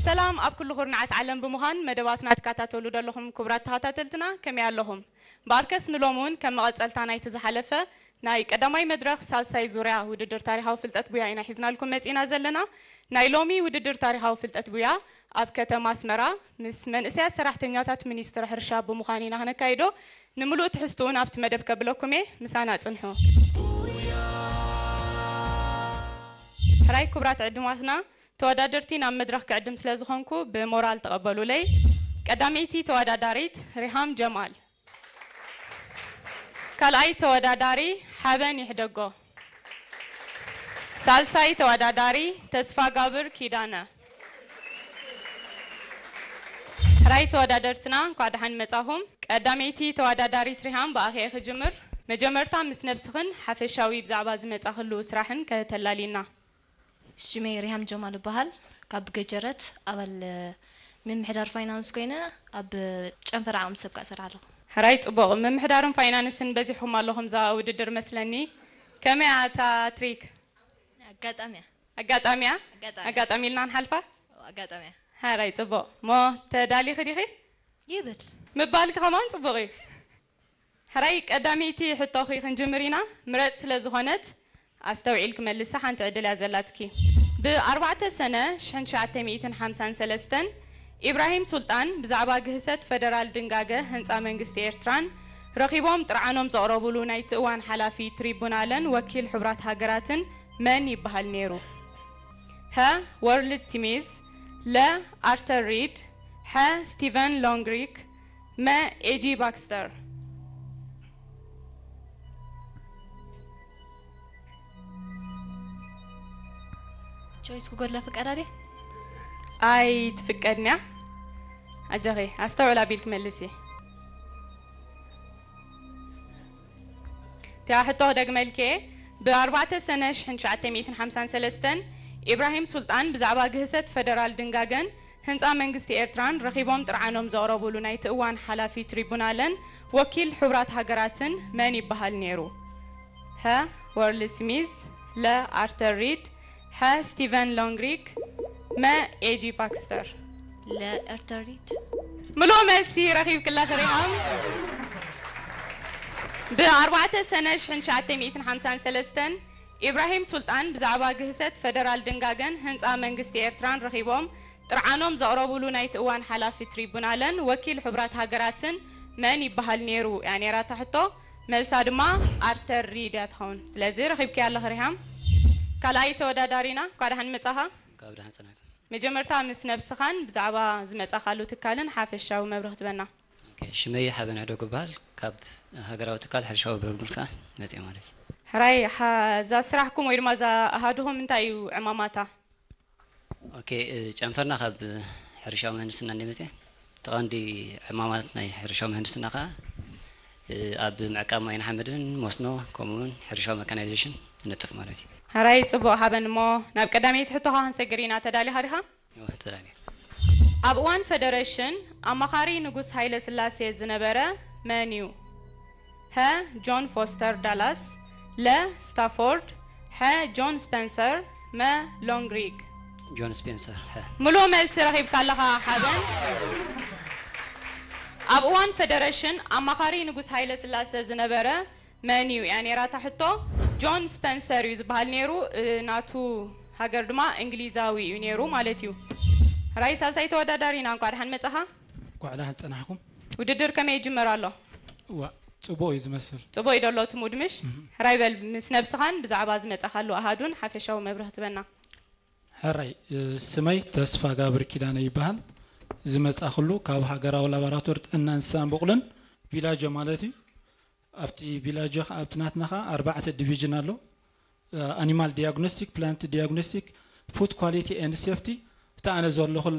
ሰላም ኣብ ኩሉ ኩርናዓት ዓለም ብምዃን መደባትና ትከታተሉ ዘለኹም ክቡራት ተኸታተልትና ከመይ ኣለኹም? ብኣርከስ ንሎሚ እውን ከም መቐጸልታ ናይቲ ዝሓለፈ ናይ ቀዳማይ መድረኽ ሳልሳይ ዙርያ ውድድር ታሪኻዊ ፍልጠት ቡያ ኢና ሒዝናልኩም መጺና ዘለና። ናይ ሎሚ ውድድር ታሪኻዊ ፍልጠት ቡያ ኣብ ከተማ ኣስመራ ምስ መንእሰያት ሰራሕተኛታት ሚኒስትሪ ሕርሻ ብምዃን ኢና ክነካይዶ። ንምሉእ ትሕዝትኡን ኣብቲ መደብ ከብለኩም እየ፣ ምሳና ጽንሑ። ሕራይ ክቡራት ዕድማትና፣ ተወዳደርቲ ናብ መድረኽ ክዕድም ስለ ዝኾንኩ ብሞራል ተቐበሉለይ። ቀዳመይቲ ተወዳዳሪት ሪሃም ጀማል። ካልኣይ ተወዳዳሪ ሓበን ይሕደጎ። ሳልሳይ ተወዳዳሪ ተስፋ ጋብር ኪዳነ። ሕራይ ተወዳደርትና እንኳዕ ደሓን መጻኹም። ቀዳመይቲ ተወዳዳሪት ሪሃም ብኣኺ እየ ክጅምር። መጀመርታ ምስ ነብስኽን ሓፈሻዊ ብዛዕባ ዝመጻኽሉ ስራሕን ከተላሊና። ሽመይ ሪሃም ጀማል እበሃል። ካብ ገጀረት ኣባል ምምሕዳር ፋይናንስ ኮይነ ኣብ ጨንፈር ዓቕሚ ሰብ ከኣ እሰርሕ ኣለኹ። ሕራይ ጽቡቕ። ምምሕዳርን ፋይናንስን በዚሕኩም ኣለኹም እዛ ውድድር መስለኒ። ከመይ እያ እታ ትሪክ? ኣጋጣሚ እያ። ኣጋጣሚ እያ? ኣጋጣሚ። ኣጋጣሚ ኢልና ንሓልፋ? ኣጋጣሚ እያ። ሕራይ ጽቡቕ። እሞ ተዳሊኺ ዲኺ? ይብል። ምባልኪ ከማን ጽቡቕ እዩ። ሕራይ ቀዳመይቲ ሕቶኺ ክንጅምር ኢና። ምረጽ ስለ ዝኾነት ኣስተውዒልኪ መልሲ፣ ሓንቲ ዕድል እያ ዘላትኪ። ብ4 ሰነ ሽሕን ትሽዓተ ሚእትን ሓምሳን ሰለስተን ኢብራሂም ሱልጣን ብዛዕባ ግህሰት ፈደራል ድንጋገ ህንጻ መንግስቲ ኤርትራን ረኺቦም ጥርዓኖም ዘቕረቡሉ ናይቲ እዋን ሓላፊ ትሪቡናለን ወኪል ሕቡራት ሃገራትን መን ይበሃል ነይሩ? ሀ፣ ወርልድ ስሚዝ፣ ለ፣ ኣርተር ሪድ፣ ሐ፣ ስቲቨን ሎንግሪክ፣ መ፣ ኤጂ ባክስተር። ቾይስ ክጎድላ ፍቃዳ ድያ? ኣይትፍቀድን እያ። ኣጆኺ፣ ኣስተውዕል ኣቢልኪ መልሲ። እቲኣ ሕቶ ክደግመልኪ እየ። ብ4 ሰነ ሽሕን ትሽዓተ ሚእትን ሓምሳን ሰለስተን ኢብራሂም ሱልጣን ብዛዕባ ግህሰት ፈደራል ድንጋገን ህንጻ መንግስቲ ኤርትራን ረኺቦም ጥርዓኖም ዘቕረቡሉ ናይቲ እዋን ሓላፊ ትሪቡናለን ወኪል ሕቡራት ሃገራትን መን ይበሃል ነይሩ? ሀ፣ ወርልድ ስሚዝ፣ ለ፣ ኣርተር ሪድ፣ ሐ፣ ስቲቨን ሎንግሪክ፣ መ፣ ኤጂ ባክስተር። ለ፣ ኣርተር ሪድ። ምሉእ መልሲ ረኺብኪ ኣለኺ ሪሃም። ብ4 ሰነ ሽሕን ትሽዓተ ሚእትን ሓምሳን ሰለስተን ኢብራሂም ሱልጣን ብዛዕባ ግህሰት ፈደራል ድንጋገን ህንጻ መንግስቲ ኤርትራን ረኺቦም ጥርዓኖም ዘቕረቡሉ ናይቲ እዋን ሓላፊ ትሪቡናለን ወኪል ሕቡራት ሃገራትን መን ይበሃል ነይሩ እያ ነይራ እታ ሕቶ። መልሳ ድማ ኣርተር ሪድ እያ ትኸውን። ስለዚ ረኺብክያ ኣለኺ ሪሃም። ካልኣይ ተወዳዳሪና፣ እንኳዕ ደሓን መጻኻ። ካብ ደሓን ጸናሕኩም። መጀመርታ ምስ ነብስኻን ብዛዕባ ዝመጻኻሉ ትካልን ሓፈሻዊ መብርህ ትበና። ኦኬ፣ ሽመይ ሓበን ሕደጉ ይበሃል። ካብ ሃገራዊ ትካል ሕርሻዊ ብረብዱል ከኣ መጽየ ማለት እዩ። ሕራይ፣ ሓ-፣ እዛ ስራሕኩም ወይ ድማ እዛ ኣሃዱኹም እንታይ እዩ ዕማማታ? ኦኬ፣ እ፣ ጨንፈርና ካብ ሕርሻዊ ምህንድስና እንደ መጽየ። እቲ ቀንዲ ዕማማት ናይ ሕርሻዊ ምህንድስና ከኣ፣ እ፣ ኣብ ምዕቃብ ማይን ሓመድን፣ መስኖ፣ ከምኡ እውን ሕርሻዊ መካናይዜሽን ትነጥፍ ማለት እዩ። ሕራይ፣ ጽቡቕ ሓበን። እሞ ናብ ቀዳመይቲ ሕቶኻ ክንሰግር ኢና። ተዳሊኻ ዲኻ? እወ፣ ተዳልየ። ኣብ እዋን ፈደረሽን ኣማኻሪ ንጉስ ሃይለ ስላሴ ዝነበረ መን እዩ? ሀ፣ ጆን ፎስተር ዳላስ፣ ለ፣ ስታፎርድ፣ ሐ፣ ጆን ስፐንሰር፣ መ፣ ሎንግሪግ። ጆን ስፔንሰር፣ ሐ። ምሉእ መልሲ ረኺብካ ኣለኻ ሓበን። ኣብ እዋን ፈደረሽን ኣማኻሪ ንጉስ ሃይለ ስላሴ ዝነበረ መን እዩ እያ ነይራ እታ ሕቶ? ጆን ስፐንሰር እዩ ዝበሃል ነይሩ። እ፣ ናቱ ሃገር ድማ እንግሊዛዊ እዩ ነይሩ ማለት እዩ። ሕራይ ሳልሳይ ተወዳዳሪና፣ እንኳዕ ደሓን መጻኻ። እንኳዕ ደሓን ጸናሕኩም። ውድድር ከመይ ይጅመር ኣሎ? ዋ፣ ጽቡቕ እዩ ዝመስል። ጽቡቕ እዩ ደሎ እቲ ሙድ ምሽ? እህ። ሕራይ በል ምስ ነብስኻን ብዛዕባ ዝመጻኻሉ ኣሃዱን ሓፈሻዊ መብርህ ትበና። ሕራይ፣ እ፣ ስመይ ተስፋ ጋብር ኪዳነ ይበሃል። ዝመጻኽሉ ካብ ሃገራዊ ላቦራቶሪ ጥዕና እንስሳን በቑልን ቪላጆ ማለት እዩ። ኣብቲ ቪላጆ ኸ-፣ ኣብቲ ናትና ኸኣ ኣርባዕተ ዲቪዥን ኣሎ። እ፣ ኣኒማል ዲያግኖስቲክ፣ ፕላንት ዲያግኖስቲክ፣ ፉድ ኳሊቲ ኤንድ ሴፍቲ፣ እታ ኣነ ዘለኹላ